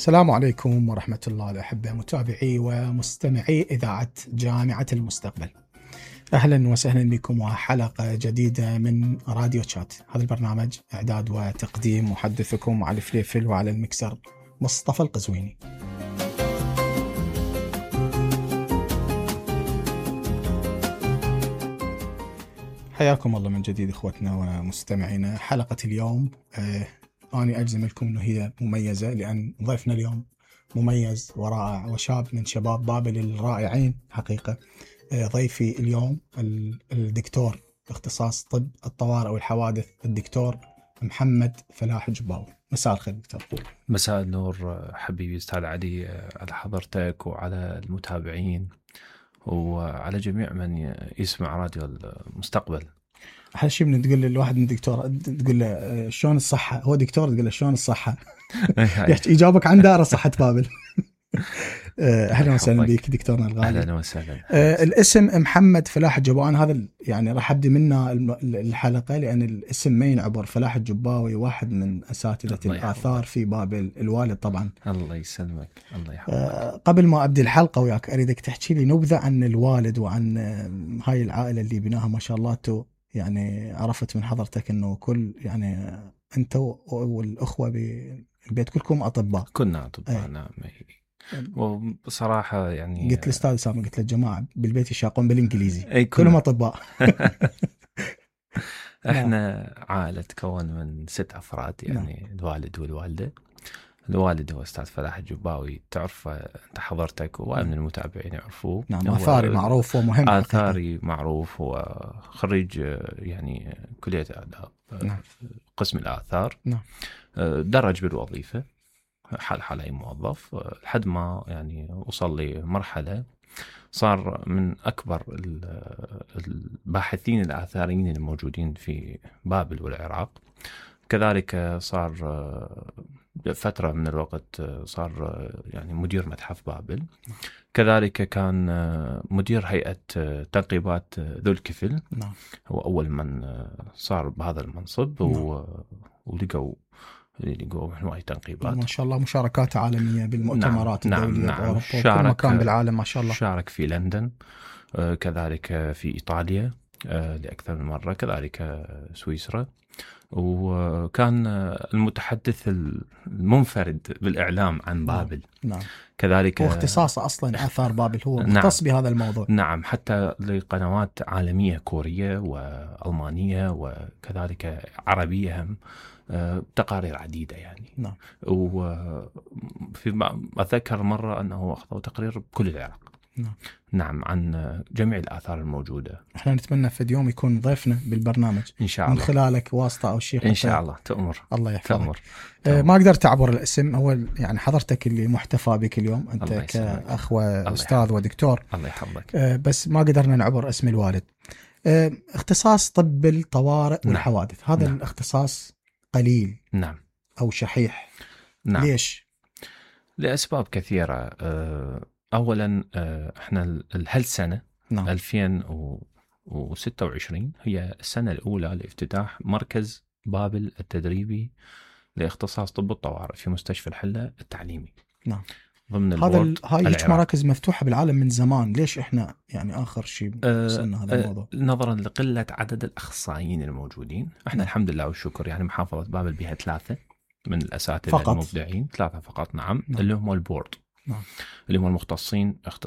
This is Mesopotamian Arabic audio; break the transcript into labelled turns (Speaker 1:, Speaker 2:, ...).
Speaker 1: السلام عليكم ورحمة الله الأحبة متابعي ومستمعي إذاعة جامعة المستقبل. أهلا وسهلا بكم وحلقة جديدة من راديو تشات. هذا البرنامج إعداد وتقديم محدثكم علي فليفل، وعلى المكسر مصطفى القزويني. حياكم الله من جديد إخوتنا ومستمعينا. حلقة اليوم أنا أجزم لكم أنه هي مميزة، لأن ضيفنا اليوم مميز ورائع وشاب من شباب بابل الرائعين حقيقة. ضيفي اليوم الدكتور اختصاص طب الطوارئ والحوادث، الدكتور محمد فلاح جباوي. مساء الخير دكتور.
Speaker 2: مساء النور حبيبي أستاذ علي، على حضرتك وعلى المتابعين وعلى جميع من يسمع راديو المستقبل.
Speaker 1: أحلى شيء من تقول للواحد من دكتور تقول له شلون الصحة، هو دكتور تقول له شلون الصحة يجاوبك عن دار صحة بابل. أهلا وسهلا بك دكتورنا الغالي.
Speaker 2: أهلا وسهلا.
Speaker 1: الاسم محمد فلاح الجباوي، هذا يعني راح أبدي منه الحلقة، لأن الاسم ما ينعبر. فلاح الجباوي واحد من أساتذة الآثار في بابل، الوالد طبعا.
Speaker 2: الله يسلمك، الله يحفظك.
Speaker 1: قبل ما أبدي الحلقة وياك أريدك تحكي لي نبذة عن الوالد وعن هاي العائلة اللي بناها ما شاء الله. تو يعني عرفت من حضرتك أنه كل يعني أنت والأخوة بالبيت كلكم أطباء.
Speaker 2: كنا أطباء نعم. وبصراحة يعني
Speaker 1: قلت الأستاذ سامي، قلت للجماعة بالبيت يشاقون بالإنجليزي
Speaker 2: كلهم
Speaker 1: أطباء.
Speaker 2: احنا عائلة تكون من 6 أفراد يعني الوالد والوالدة. الوالد هو أستاذ فلاح الجباوي، تعرف أنت حضرتك ومن المتابعين يعرفوه.
Speaker 1: نعم، آثاري معروف ومهم.
Speaker 2: آثاري معروف، وخريج يعني كلية آداب، قسم الآثار.
Speaker 1: نعم.
Speaker 2: درج بالوظيفة حال أي موظف، لحد ما يعني وصل لمرحلة صار من أكبر الباحثين الآثاريين الموجودين في بابل والعراق. كذلك صار فترة من الوقت صار يعني مدير متحف بابل. كذلك كان مدير هيئة تنقيبات ذو الكفل.
Speaker 1: نعم.
Speaker 2: هو أول من صار بهذا المنصب.
Speaker 1: نعم.
Speaker 2: ولقوا هواي تنقيبات
Speaker 1: ما شاء الله، مشاركات عالمية بالمؤتمرات الدولية
Speaker 2: نعم.
Speaker 1: كل مكان بالعالم ما شاء الله.
Speaker 2: شارك في لندن، كذلك في إيطاليا لأكثر من مرة، كذلك سويسرا. وكان المتحدث المنفرد بالإعلام عن بابل.
Speaker 1: نعم.
Speaker 2: كذلك
Speaker 1: هو اختصاصه أصلا آثار بابل، هو مختص بهذا الموضوع.
Speaker 2: نعم، حتى لقنوات عالمية كورية وألمانية وكذلك عربية هم، تقارير عديدة يعني.
Speaker 1: نعم.
Speaker 2: وفي أتذكر مرة أنه أخذوا تقرير بكل العراق.
Speaker 1: نعم.
Speaker 2: نعم، عن جميع الآثار الموجودة.
Speaker 1: احنا نتمنى في اليوم يكون ضيفنا بالبرنامج
Speaker 2: إن شاء الله،
Speaker 1: من خلالك واسطة أو شيء.
Speaker 2: إن شاء الله تأمر.
Speaker 1: الله يحفظك.
Speaker 2: تأمر.
Speaker 1: ما قدرت أعبر الاسم. أول يعني حضرتك اللي محتفى بك اليوم، أنت كأخ وأستاذ ودكتور.
Speaker 2: الله يحفظك.
Speaker 1: بس ما قدرنا نعبر اسم الوالد. اختصاص طب الطوارئ والحوادث، هذا
Speaker 2: نعم.
Speaker 1: الاختصاص قليل
Speaker 2: نعم
Speaker 1: أو شحيح.
Speaker 2: نعم.
Speaker 1: ليش؟
Speaker 2: لأسباب كثيرة. أولا احنا هالسنة
Speaker 1: نعم.
Speaker 2: 2026 هي السنة الأولى لافتتاح مركز بابل التدريبي لاختصاص طب الطوارئ في مستشفى الحلة التعليمي.
Speaker 1: نعم.
Speaker 2: ضمن
Speaker 1: هاي مراكز مفتوحة بالعالم من زمان، ليش احنا يعني آخر شيء وصلنا هذا الموضوع؟
Speaker 2: نظرا لقلة عدد الأخصائيين الموجودين. احنا الحمد لله والشكر يعني محافظة بابل بها 3 من الأساتذة المبدعين، 3 فقط. نعم. اللي هم البورد.
Speaker 1: نعم.
Speaker 2: اللي هم المختصين